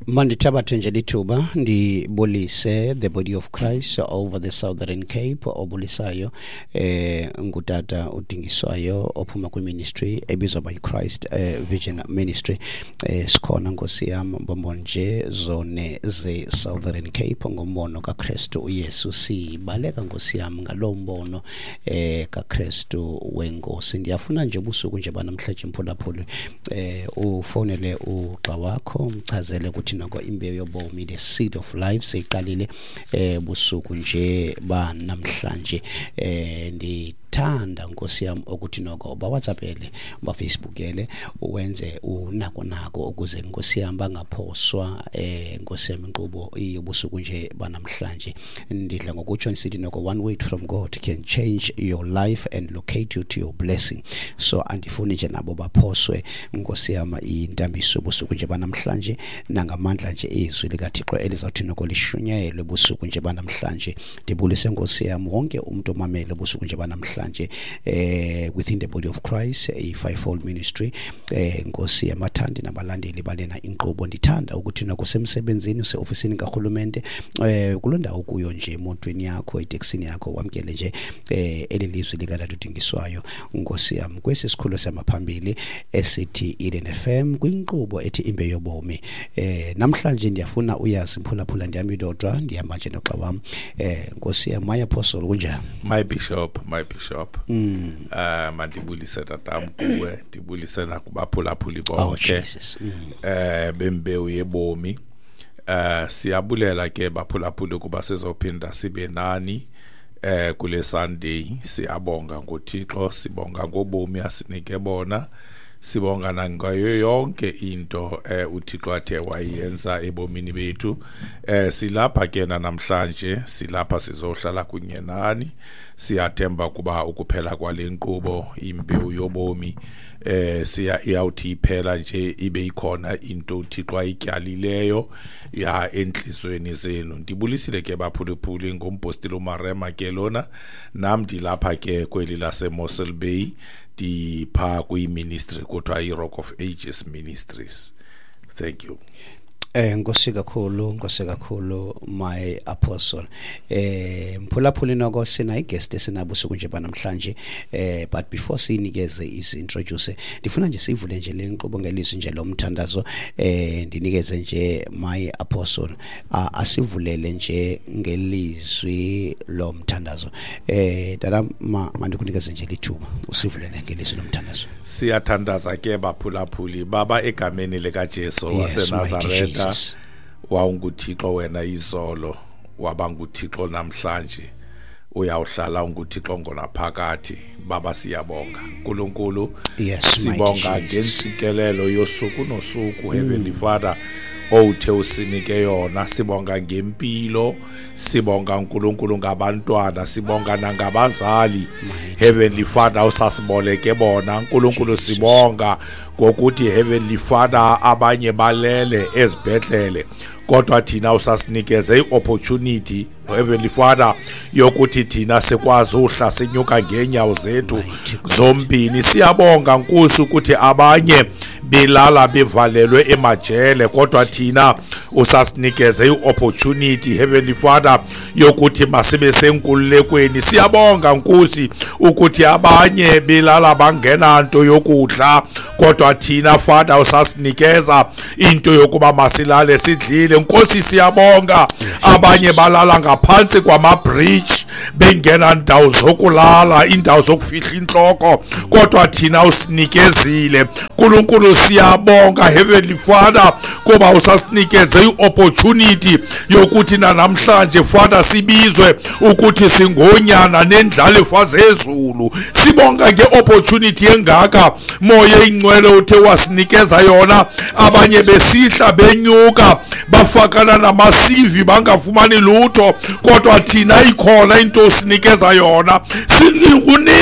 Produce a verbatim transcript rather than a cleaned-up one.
Mandithabathe nje lithuba ndibulise the body of Christ over the Southern Cape. Obulisayo eh ngutata uDingiswayo ophuma kwi-ministry ebizwa by Christ eh, Vision Ministry. eh, sikhona Nkosi yam mbombo nje zone ze Southern Cape ngombono kaKristu uYesu. Sibaleka Nkosi yam ngalo mbono eh kaKristu wenkosi. Ndiyafuna nje ubusuku nje banamhlanje mphulaphuli eh ufonele ugxa wakho umchazele ukuthi noko imbewu yobomi, the seed of life, seyiqalile eh busuku nje ba namhlanje. eh ndithanda Nkosi yam ukuthi noko ba WhatsAppele, ba Facebookele, uwenze unako nako ukuze Nkosi yam bangaphoswa eh Nkosi yam inkqubo yobusuku nje banamhlanje. Ndidla ngokutsho ndisithi noko one word from God can change your life and locate you to your blessing. So andifuni nje nabo baphoswe Nkosi yam intambiso yobusuku nje banamhlanje, nangamandla nje izwi likaThixo elizawuthi noko lishunyayelwe busuku nje banamhlanje. Ndibulise Nkosi yam wonke umuntu omamele busuku nje banamhlanje eh within the body of Christ, a fivefold ministry, eh Nkosi yamathandi nabalandeli balena inkqubo. Ndithanda ukuthi noko semsebenzini, useofisini karhulumente, eh kuloo ndawo kuyo nje, emotweni yakho, eteksini yakho, wamkele nje eh eli lizwi likaTata uDingiswayo Nkosi yam kwesi sikhululo samaphambili esithi Eden F M kwinkqubo ethi Imbewu Yobomi. Eh namhlanje ndiyafuna uyazi mphulaphula, ndihamba ndodwa, ndihamba nje noxa wam. eh Nkosi yam, my apostle, kunjani? My bishop, my bishop. Mm. Uh mandibulise tatam kuwe, ndibulise nakubaphulaphuli Oh, bonke. Jesus. Mm. Eh bembewu yebomi. Eh siyabulela ke baphulaphuli kuba sizophinda sibe nani eh kule Sunday. Siyabonga ngoThixo, sibonga ngobomi asinike bona, sibonga nangayo yonke into eh uThixo athe wayenza ebomini bethu. Eh silapha ke namhlanje, silapha sizohlala kunye nani. Siyathemba kuba ukuphela kwale nkqubo Imbewu Yobomi eh siya iyawuthi iphela nje ibe ikhona into uThixo ayityalileyo ya enhlizweni zenu. Ndibulisile ke baphulaphuli, ngumpostile uMarema ke lona, nam ndilapha ke kweli lase Mossel Bay, ndipha kwi-ministry kuthiwa i-Rock of Ages Ministries. Thank you. Eh Nkosi kakhulu, Nkosi kakhulu my apostle. Eh mphulaphuli noko sina i-guest esinabusuku nje banamhlanje, eh but before sinikeze isi-introduce, ndifuna nje sivule nje le nkqubo ngelizwi nje lomthandazo. Eh ndinikeze nje my apostle asivulele nje ngelizwi lomthandazo. Eh dada, mandikunikeze nje lithuba usivulele ngelizwi lomthandazo. Siyathandaza ke baphulaphuli. Baba, egameni lika Jesu waseNazaretha, wawunguThixo wena izolo, waba nguThixo namhlanje, uyawuhlala unguThixo ngonaphakathi. Baba, siyabonga uNkulunkulu. Yes, sibonga ngentsikelelo yosuku nosuku, Heavenly Father, owuthe usinike yona. Sibonga ngempilo, sibonga uNkulunkulu ngabantwana, sibonga nangabazali, Heavenly Father, usasiboleke bona uNkulunkulu. Sibonga ngokuthi, Heavenly Father, abanye balele ezibhedlele, kodwa thina usasinikeze i-opportunity, Heavenly Father, yokuthi thina sikwazi uhla sinyuka ngeenyawo zethu zombini. Siyabonga Nkosi ukuthi abanye belala bevalelwe emajele, kodwa thina usasinikeze i-opportunity, Heavenly Father, yokuthi masibe senkululekweni. Siyabonga Nkosi ukuthi abanye belala bangena nto yokudla, kodwa thina, Father, usasinikeza into yokuba masilale sidlile. Nkosi, siyabonga abanye balala ngaphansi kwama-bridge bengena ndawo zokulala, indawo zokufihla inhloko, kodwa thina usinikezile uNkulunkulu. Siyabonga, Heavenly Father, kuba usasinikeze i-opportunity yokuthi namhlanje, Father, sibizwe ukuthi singonyana nendlalifa zezulu. Sibonga nge-opportunity engaka, Moya Ingcwele, uthe wasinikeza yona. Abanye besihla benyuka bafakana namasivi bangafumani lutho, kodwa thina ikhona into osinikeza yona.